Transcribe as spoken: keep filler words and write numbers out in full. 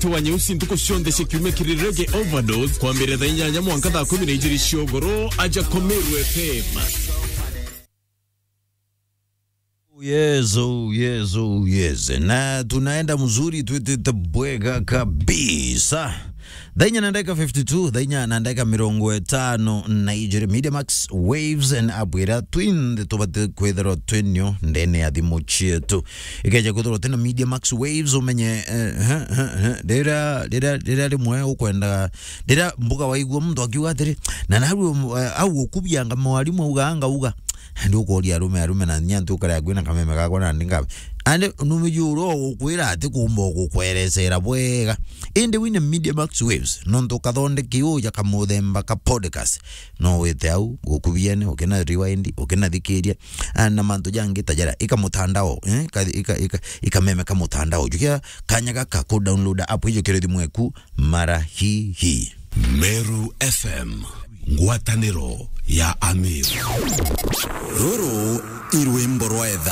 Twa nyeusi ntuku cionthe cia kiumia kiri Reggae Overdose, kwambiriria thaa inyanya mwanka thaa kumi na ijiri cia ugoro, aja kwa Meru F M. Oh yes, oh yes, oh yes. Na tunaenda mzuri, twitite bwega kabisa. Thaa inya na ndagika fifty-two, thaa inya na ndagika mirongo itano na ijiri. Media Max Waves and Abwira twinthe tubati kwithirwa twinio ndene ya thimu cietu. Ikeja kwithirwa twina Media Max Waves, umenye, eh, eh, eh, eh, rira, rira, rira rimwe ukwenda, rira mbuga waigua muntu akiuga atiri, na naru, eh, au ukubianga mwarimu auga, anga uga. Ndi ukoria arume, arume na nya ntu ukare agwina kameme gakwa na ndi ngabe. Ande numiji uro ukwira ati kumba gukwerecera bwega. Indi wine Media Max Waves, nontu kathondeki uja kamuthemba ka podcast. No wite au, gukubiene, ukina rewind, ukina thikiria, ah, na mantu jangi ta jara, ika mutandao, eh, ka, ika, ika, ika meme ka mutandao. Jukia kanya gaka ku download app ijo kiri thimu eku mara hi hi. Meru F M, ngwataniro ya Amiru. Ruru i rwimbo rwa etha.